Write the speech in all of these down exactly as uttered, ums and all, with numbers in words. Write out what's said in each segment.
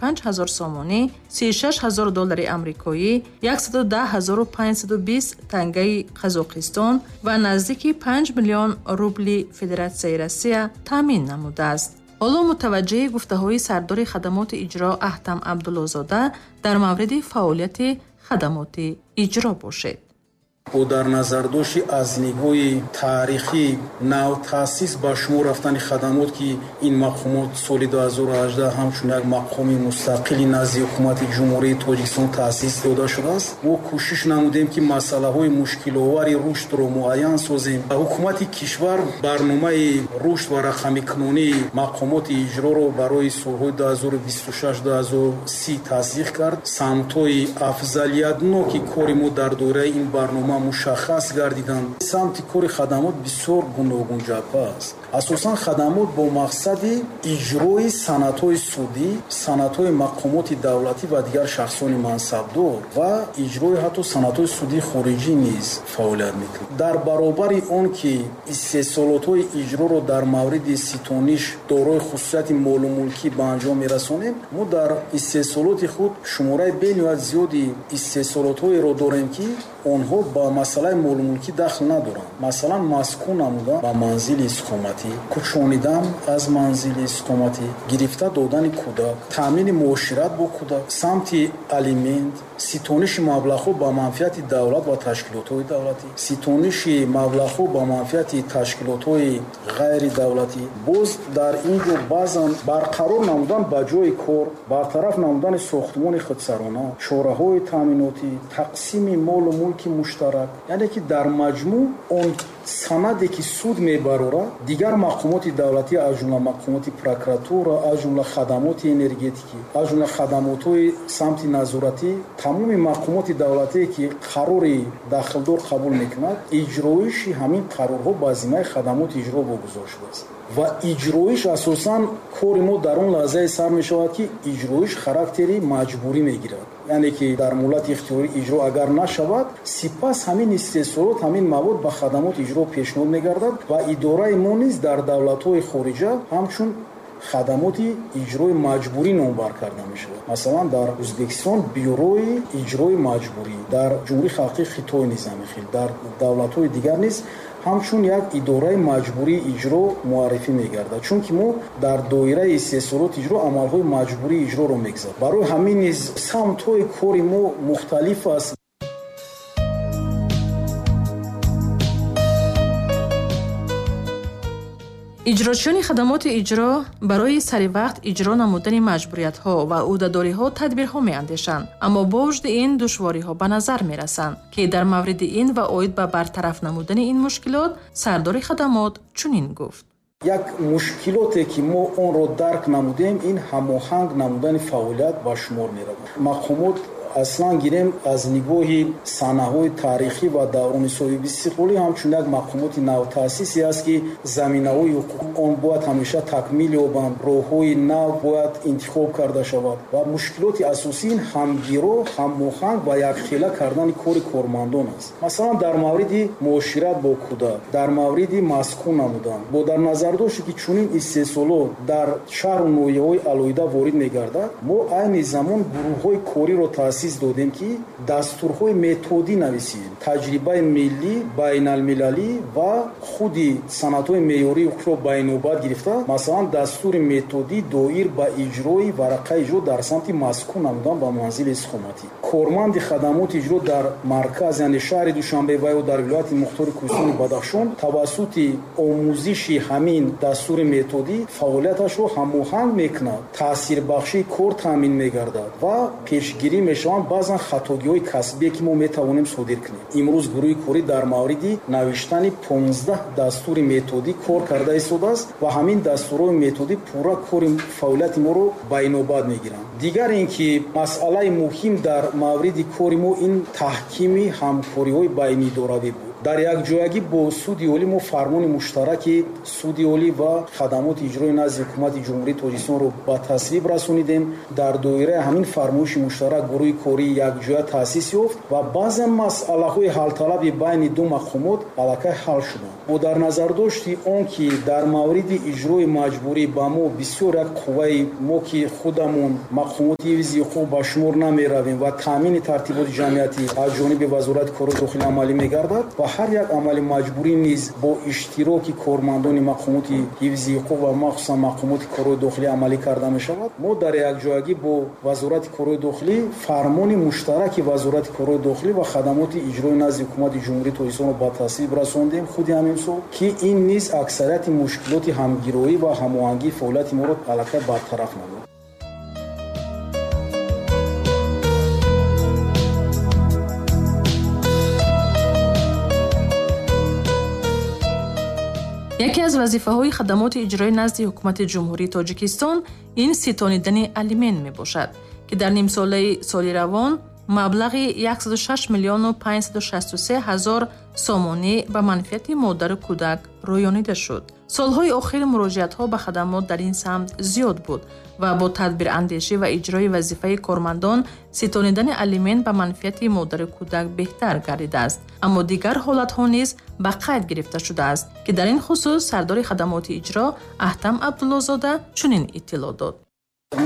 панҷ ҳазор сомонӣ, сию шаш ҳазор доллари амрикоӣ, яксаду даҳ ҳазору панҷсаду бист тангаи Қазоқистон ва наздики панҷ миллион рубли Федератсияи Россия таъмин намудааст. Ҳоло мутаваҷҷеҳи гуфтаҳои сардори хадамоти иҷро Аҳтам Абдуллозода дар мавриди фаъолияти хадамоти иҷро бошед. Бо дар назардошти аз нигоҳи таърихӣ навтаъсис ба шумор рафтани хадамот, ки ин мақомот соли ду ҳазору ҳаждаҳ ҳамчун як мақоми мустақили назди ҳукумати Ҷумҳурии Тоҷикистон таъсис дода шудааст, мо кӯшиш намудем, ки масъалаҳои мушкиловари рушдро муайян созем. Ҳукумати кишвар барномаи рушд ва рақамикунонии мақомоти иҷроро барои солҳои ду ҳазору бисту шаш ду ҳазору си тасдиқ кард. Самтҳои афзалиятноки кори мо дар доираи ин барнома мушаххас гардиданд. Самти кори хадамот бисёр гуногунҷабҳа аст. Асосан хадамот бо мақсади иҷрои санадҳои судӣ, санадҳои мақомоти давлатӣ ва дигар шахсони мансабдор ва иҷрои ҳатто санадҳои судии хориҷӣ низ фаъолият мекунад. Дар баробари он ки истеҳсолотҳои иҷроро дар мавриди ситониш дорои хусусияти молу мулкӣ ба анҷом мерасонем, мо дар истеҳсолоти худ шумораи бениҳоят зиёди истеҳсолотҳоеро дорем, ки онҳо ба масъалаи молумулкӣ дахл надоранд. Масалан, маскун намудан ба манзили истиқоматӣ, кӯчонидан аз манзили истиқоматӣ, гирифта додани кӯдак, таъмини муошират бо кӯдак, самти алимент, ситониши маблағҳо ба манфиати давлат ва ташкилотҳои давлатӣ, ситониши маблағҳо ба манфиати ташкилотҳои ғайридавлатӣ. Боз дар ин ҷо баъзан барқарор намудан ба ҷои кор, бартараф намудани сохтмони худсарона, чораҳои таъминотӣ, тақсими молу мулки муштарак, яъне ки дар маҷмӯъ он санаде ки суд мебарорад, дигар мақомоти давлатӣ, аз ҷумла мақомоти прокуратура, аз ҷумла хадамоти энергетикӣ, аз ҷумла хадамотҳои самти назоратӣ, тамоми мақомоти давлатие ки қарори дахлдор қабул мекунад, иҷроиши ҳамин қарорҳо ба зиммаи хадамоти иҷро вогузор шудааст. Ва иҷроиш асосан кори мо дар он лаҳзае сар мешавад, ки иҷроиш характери маҷбурӣ мегирад. Яъне ки дар муҳлати ихтиёрӣ иҷро агар нашавад, сипас ҳамин истеҳсолот, ҳамин мавод ба хадамоти иҷро пешниҳод мегардад ва идораи мо низ дар давлатҳои хориҷа ҳамчун хадамоти иҷрои маҷбурӣ номбар карда мешавад. Масалан, дар Ӯзбекистон бюрои иҷрои маҷбурӣ, дар Ҷумҳурии Халқии Хитой низ ҳамин хел, дар давлатҳои дигар низ ҳамчун як идораи маҷбурии иҷро муаррифӣ мегардад, чунки мо дар доираи истеҳсолоти иҷро амалҳои маҷбурии иҷроро мегузарем. Барои ҳамин низ самтҳои кори мо мухталиф аст. Иҷрочиёни хадамоти иҷро барои саривақт иҷро намудани маҷбуриятҳо ва ӯҳдадориҳо тадбирҳо меандешанд, аммо бо вуҷуди ин душвориҳо ба назар мерасанд, ки дар мавриди ин ва оид ба бартараф намудани ин мушкилот сардори хадамот чунин гуфт. Як мушкилоте ки мо онро дарк намудем, ин ҳамоҳанг намудани фаъолият ба шумор меравад. Мақомот аслан гирем аз нигоҳи саҳнаҳои таърихӣ ва даврони соҳибистиқлолӣ ҳамчун як мақомоти навтаъсисе аст, ки заминаҳои ҳуқуқи он бояд ҳамеша такмил ёбанд, роҳҳои нав бояд интихоб карда шавад ва мушкилоти асосӣ ин ҳамгиро, ҳамоҳанг ва якхела кардани кори кормандон аст. Масалан, дар мавриди муошират бо кӯдак, дар мавриди маскун намудан, бо дар назардошти ки чунин истеҳсолот дар шаҳру ноҳияҳои алоҳида ворид мегардад, мо айни замон гурӯҳҳои кориро таъсис додем, ки дастурҳои методӣ нависем, таҷрибаи миллӣ, байналмилалӣ ва худи санадҳои меъёрии ҳуқуқро ба инобат гирифта, масалан, дастури методӣ доир ба иҷрои варақаи иҷро дар самти маскун намудан ба манзили истиқоматӣ. Корманди хадамоти иҷро дар марказ, яъне шаҳри Душанбе ва ё дар вилояти мухтори Кӯҳистони Бадахшон тавассути омӯзиши ҳамин дастури методӣ фаъолияташро ҳамоҳанг мекунад, таъсирбахшии кор таъмин мегардад ва пешгирӣ мешаванд баъзан хатогиҳои касбие, ки мо метавонем содир кунем. Имрӯз гурӯҳи корӣ дар мавриди навиштани понздаҳ дастури методӣ кор карда истодааст ва ҳамин дастурҳои методӣ пурра кори фаъолияти моро ба инобат мегиранд. Дигар ин ки масъалаи муҳим дар мавриди кори мо ин таҳкими ҳамкориҳои байниидоравӣ буд. Дар якҷоягӣ бо суди олӣ мо фармони муштараки суди олӣ ва хадамоти иҷрои назди ҳукумати Ҷумҳурии Тоҷикистонро ба тасвиб расонидем. Дар доираи ҳамин фармоиши муштарак гурӯҳи кории якҷоя таъсис ёфт ва баъзе масъалаҳои ҳалталаби байни ду мақомот аллакай ҳал шуданд. Бо дар назардошти он ки дар мавриди иҷрои маҷбурӣ ба мо бисёр як қувваи мо ки худамон мақомоти ҳифзи ҳуқуқ ба шумор намеравем ва таъмини тартиботи ҷамъиятӣ аз ҷониби Вазорати корҳои дохилӣ амалӣ мегардад ва ҳар як амали маҷбурӣ низ бо иштироки кормандони мақомоти ҳифзи ҳуқуқ ва махсусан мақомоти корҳои дохилӣ амалӣ карда мешавад. Мо дар якҷоягӣ бо Вазорати корҳои дохилӣ фармони муштараки Вазорати корҳои дохилӣ ва хадамоти иҷрои назди ҳукумати Ҷумҳурии Тоҷикистонро ба тасвиб расондем худи ҳамин сол, ки ин низ аксарияти мушкилоти ҳамгироӣ ва ҳамоҳангии фаъолияти моро аллакай бартараф намуд. Яке аз вазифаҳои хадамоти иҷрои назди ҳукумати Ҷумҳурии Тоҷикистон ин ситонидани алимент мебошад, ки дар нимсолаи соли равон маблағи яксаду шаш миллиону панҷсаду шасту се ҳазор сомонӣ ба манфиати модару кӯдак рӯёнида шуд. Солҳои охир муроҷиатҳо ба хадамот дар ин самт зиёд буд ва бо тадбирандешӣ ва иҷрои вазифаи кормандон ситонидани алимент ба манфиати модару кӯдак беҳтар гардидааст. Аммо дигар ҳолатҳо низ ба қайд гирифта шудааст, ки дар ин хусус сардори хадамоти иҷро Аҳтам Абдуллозода чунин иттилоъ дод.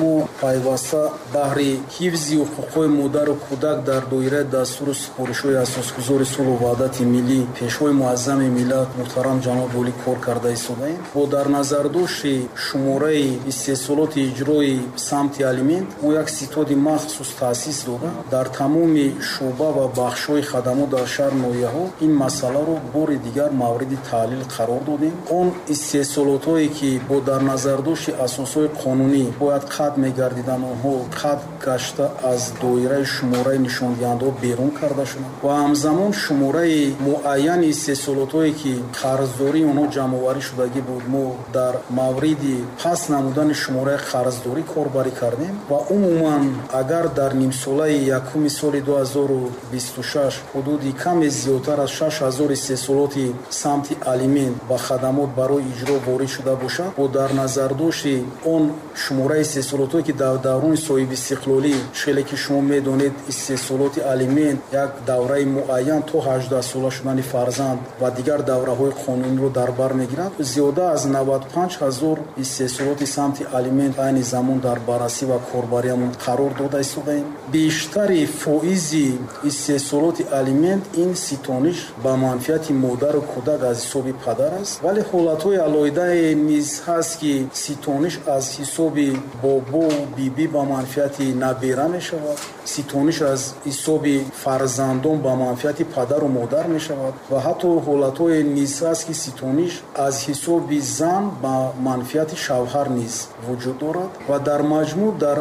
Мо пайваста баҳри ҳифзи ҳуқуқҳои модару кӯдак дар доираи дастуру супоришҳои асосгузори сулҳу ваҳдати миллӣ, пешвои муаззами миллат муҳтарам ҷаноби олӣ кор карда истодаем. Бо дар назардошти шумораи истеҳсолоти иҷрои самти алимент мо як ситоди махсус таъсис дода, дар тамоми шӯъба ва бахшҳои хадамот дар шаҳр ноҳияҳо ин масъаларо бори дигар мавриди таҳлил қарор додем. Он истеҳсолотҳое ки бо дар назардошти асосҳои қонунӣ бояд қатъ мегардиданд, онҳо қатъ гашта аз доираи шумораи нишондиҳандаҳо берун карда шуданд ва ҳамзамон шумораи муайяни истеҳсолотҳое ки қарздории онҳо ҷамъоварӣ шудагӣ буд, мо дар мавриди паст намудани шумораи қарздорӣ корбарӣ кардем ва умуман агар дар нимсолаи якуми соли ду ҳазору бисту шаш ҳудуди каме зиёдтар аз шаш ҳазор истеҳсолоти самти алимент ба хадамот барои иҷро ворид шуда бошад, бо дар назардошти он шумораи истеҳсолотҳое ки дар даврони соҳибистиқлолӣ, хеле ки шумо медонед, истеҳсолоти алимент як давраи муайян то ҳаждаҳ сола шудани фарзанд ва дигар давраҳои қонуниро дар бар мегирад, зиёда аз наваду панҷ ҳазор истеҳсолоти самти алимент айни замон дар баррасӣ ва корбариамон қарор дода истодаем. Бештари фоизи истеҳсолоти алимент ин ситониш ба манфиати модару кӯдак аз ҳисоби падар аст, вале ҳолатҳои алоҳидае низ ҳаст, ки ситониш аз ҳисоби бобову бибӣ ба манфиати набера мешавад, ситониш аз ҳисоби фарзандон ба манфиати падару модар мешавад ва ҳатто ҳолатҳое низ ҳаст, ки ситониш аз ҳисоби зан ба манфиати шавҳар низ вуҷуд дорад. Ва дар маҷмӯъ дар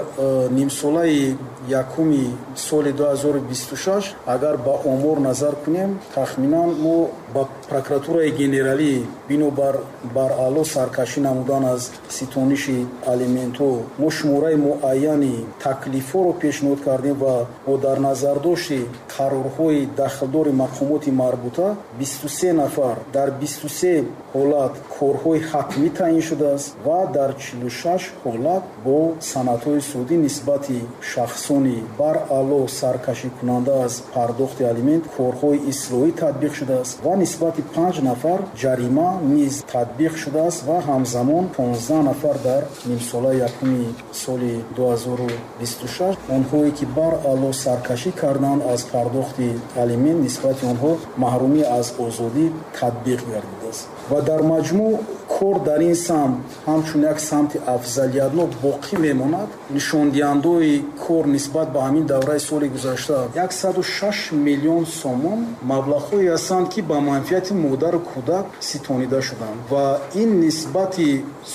нимсолаи якуми соли ду ҳазору бисту шаш агар ба омор назар кунем, тахминан мо ба прокуратураи генералӣ бинобар баръало саркашӣ намудан аз ситониши алиментҳо мо шумораи муайяни таклифҳоро пешниҳод кардем ва бо дар назардошти қарорҳои дахлдори мақомоти марбута бисту се нафар дар бисту се ҳолат корҳои ҳатмӣ таъин шудааст ва дар чилу шаш ҳолат бо санадҳои судӣ нисбати шахсони баръало саркашикунанда аз пардохти алимент корҳои ислоҳӣ татбиқ шудааст ва нисбати панҷ нафар ҷарима низ татбиқ шудааст ва ҳамзамон понздаҳ нафар дар нимсолаи якуми соли ду ҳазору бисту шаш онҳое ки баръало саркашӣ карданд аз пардохти алимент нисбати онҳо маҳрумӣ аз озодӣ татбиқ гардидааст. Ва дар маҷмӯъ кор дар ин самт ҳамчун як самти афзалиятнок боқӣ мемонад. Нишондиҳандаҳои кор нисбат ба ҳамин давраи соли гузашта яксаду шаш миллион сомон маблағҳое ҳастанд, ки ба манфиати модару кӯдак ситонида шуданд ва ин нисбати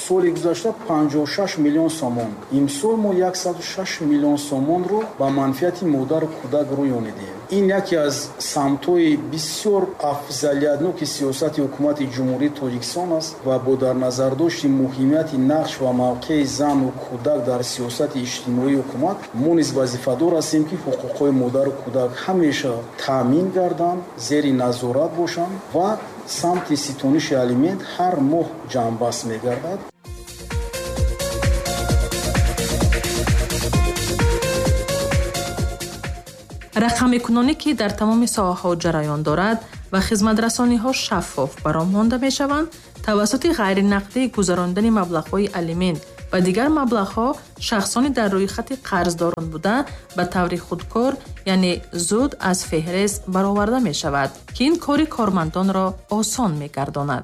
соли гузашта панҷоҳу шаш миллион сомон. Имсол мо яксаду шаш миллион сомонро ба манфиати модару кӯдак рӯёнидем. Ин яке аз самтҳои бисёр афзалиятноки сиёсати ҳукумати Ҷумҳурии Тоҷикистон аст ва бо дар назардошти муҳимияти нақш ва мавқеи зану кӯдак дар сиёсати иҷтимоии ҳукумат мо низ вазифадор ҳастем, ки ҳуқуқҳои модару кӯдак ҳамеша таъмин гарданд, зери назорат бошанд ва самти ситониши алимент ҳар моҳ ҷамъбаст мегардад. Рақамикунонӣ, ки дар тамоми соҳаҳо ҷараён дорад ва хизматрасониҳо шаффоф баром монда мешаванд, тавассути ғайринақдӣ гузарондани маблағҳои алимент ва дигар маблағҳо шахсони дар рӯйхати қарздорон буда ба таври худкор, яъне зуд аз феҳрист бароварда мешавад, ки ин кори кормандонро осон мегардонад.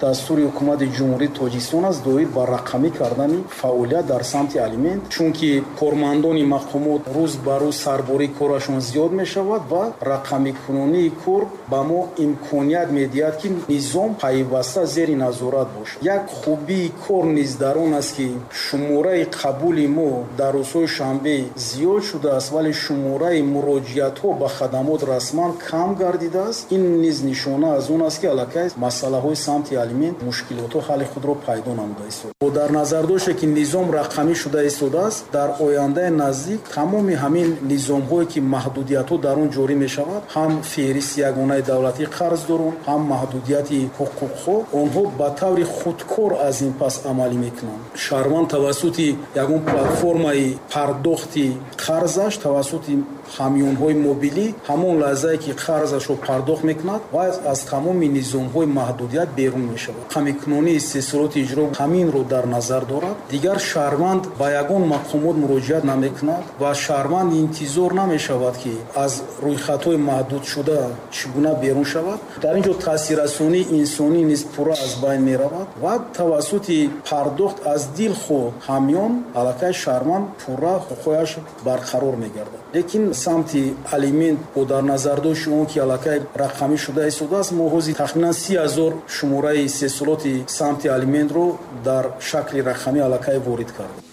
Дастури ҳукумати Ҷумҳурии Тоҷикистон аст доир ба рақамӣ кардани фаъолият дар самти алимент, чунки кормандони мақомот рӯз ба рӯз сарбории корашон зиёд мешавад ва рақамикунонии кор ба мо имконият медиҳад, ки низом пайваста зери назорат бошад. Як хубии кор низ дар он аст, ки шумораи қабули мо дар рӯзҳои шанбе зиёд шудааст, вале шумораи муроҷиатҳо ба хадамот расман кам гардидааст. Ин низ нишона аз он аст, ки аллакай масъалаҳои самти алимент мушкилотҳо ҳалли худро пайдо намуда истод. Бо дар назар доште, ки низом рақамӣ шуда истодааст, дар ояндаи наздик тамоми ҳамин низомҳое, ки маҳдудиятҳо дар он ҷорӣ мешавад, ҳам феҳристи ягонаи давлатии қарздорон, ҳам маҳдудияти ҳуқуқҳо, онҳо ба таври худкор аз ин пас амалӣ мекунанд. Шаҳрванд тавассути ягон платформаи пардохти қарзаш, тавассути ҳамёнҳои мобилӣ ҳамон лаҳзае, ки қарзашро пардохт мекунад ва аз тамоми низомҳои маҳдудият берун мешавад. Рақамикунонии истеҳсолоти иҷро ҳаминро дар назар дорад. Дигар шаҳрванд ба ягон мақомот муроҷиат намекунад ва шаҳрванд интизор намешавад, ки аз рӯйхатҳои маҳдудшуда чӣ гуна берун шавад. Дар ин ҷо таъсиррасонии инсонӣ низ пурра аз байн меравад ва тавассути пардохт аз дилхоҳ ҳамён аллакай шаҳрванд пурра ҳуқуқҳояш барқарор мегардад. Лекин самти алимент бо дар назардошти он, ки аллакай рақамӣ шуда истодааст, мо ҳозир тахминан си ҳазор шумораи истеҳсолоти самти алиментро дар шакли рақамӣ аллакай ворид кардем.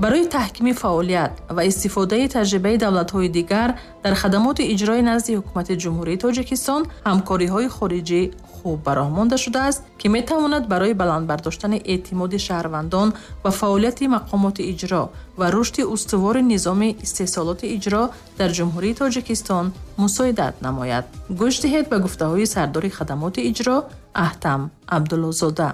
Барои таҳкими фаъолият ва истифодаи таҷрибаи давлатҳои дигар дар хадамоти иҷрои назди ҳукумати Ҷумҳурии Тоҷикистон ҳамкориҳои хориҷӣ хуб ба роҳ монда шудааст, ки метавонад барои баланд бардоштани эътимоди шаҳрвандон ва фаъолияти мақомоти иҷро ва рушди устувори низоми истеҳсолоти иҷро дар Ҷумҳурии Тоҷикистон мусоидат намояд. Гӯш диҳед ба гуфтаҳои сардори хадамоти иҷро Аҳтам Абдуллозода.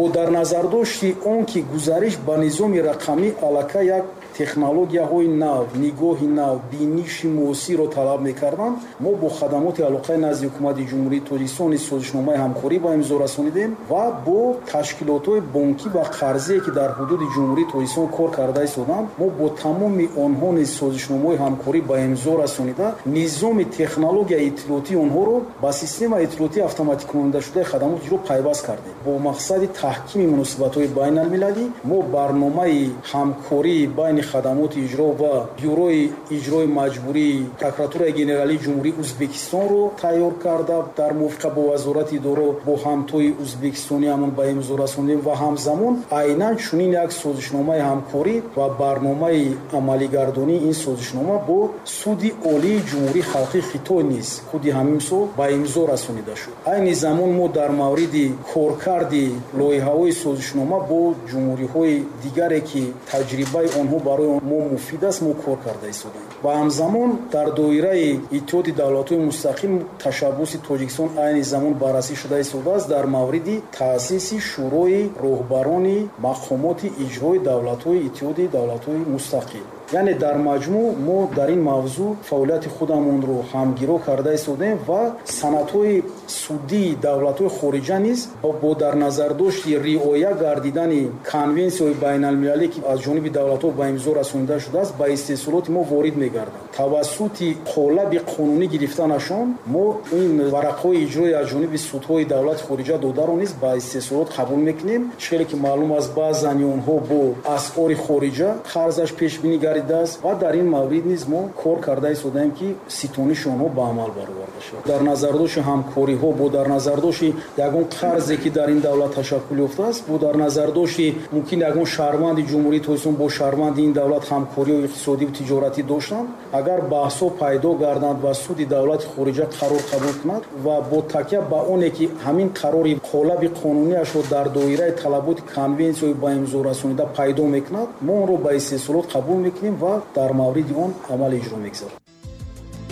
Бо дар назардошти он, ки гузариш ба низоми рақамӣ аллакай як технологияҳои нав, нигоҳи нав, биниши муосирро талаб мекарданд, мо бо хадамоти алоқаи назди ҳукумати Ҷумҳурии Тоҷикистон созишномаи ҳамкорӣ ба имзо расонидем ва бо ташкилотҳои бонкӣ ва қарзие, ки дар ҳудуди Ҷумҳурии Тоҷикистон кор карда истоданд, мо бо тамоми онҳо низ созишномаҳои ҳамкорӣ ба имзо расонида, низоми технологияи иттилоотии онҳоро ба системаи иттилоотии автоматикунондашудаи хадамоти иҷро пайваст кардем. Бо мақсади таҳкими муносибатҳои байналмилалӣ мо барномаи ҳамкории байни хадамоти иҷро ва бюрои иҷрои маҷбурии прокуратураи генералии Ҷумҳурии Ӯзбекистонро тайёр карда, дар мувофиқа бо вазорати идоро бо ҳамтои ӯзбекистониамон ба имзо расондем ва ҳамзамон айнан чунин як созишномаи ҳамкорӣ ва барномаи амалигардонии ин созишнома бо суди олии Ҷумҳурии Халқии Хитой низ худи ҳамин сол ба имзо расонида шуд. Айни замон мо дар мавриди коркарди лоиҳаҳои созишнома бо ҷумҳуриҳои дигаре, ки таҷрибаи онҳо барои мо муфид аст, мо кор карда истодаем. Ва ҳамзамон дар доираи Иттиҳоди давлатҳои мустақил ташаббуси Тоҷикистон айни замон баррасӣ шуда истодааст дар мавриди таъсиси Шӯрои роҳбарони мақомоти иҷрои давлатҳои Иттиҳоди давлатҳои мустақил. Яъне дар маҷмӯъ мо дар ин мавзӯъ фаъолияти худамонро ҳамгиро карда истодаем ва санадҳои судии давлатҳои хориҷа низ бо дар назардошти риоя гардидани конвенсияҳои байналмилалӣ, ки аз ҷониби давлатҳо ба имзо расонида шудааст, ба истеҳсолоти мо ворид мегарданд. Тавассути қолаби қонунӣ гирифтанашон мо ин варақҳои иҷрои аз ҷониби судҳои давлати хориҷа додаро низ ба истеҳсолот қабул мекунем. Чизе ки маълум аст, баъзани онҳо бо асъори хориҷа қарзаш пешбинӣ гардидааст ва дар ин маврид низ мо кор карда истодаем, ки ситониши онҳо ба амал бароварда шавад. Дар назардошти ҳамкориҳо, бо дар назардошти ягон қарзе, ки дар ин давлат ташаккул ёфтааст, бо дар назардошти мумкин ягон шаҳрванди Ҷумҳурии Тоҷикистон бо шаҳрванди ин давлат ҳамкориҳои иқтисодиву тиҷоратӣ доштанд, агар баҳсҳо пайдо гарданд ва суди давлати хориҷа қарор қабул кунад ва бо такя ба оне, ки ҳамин қарори қолаби қонунияшро дар доираи талаботи конвенсияҳои ба имзо расонида пайдо мекунад, мо онро ба истеҳсолот қабул мекунем ва дар мавриди он амал иҷро мегузарем.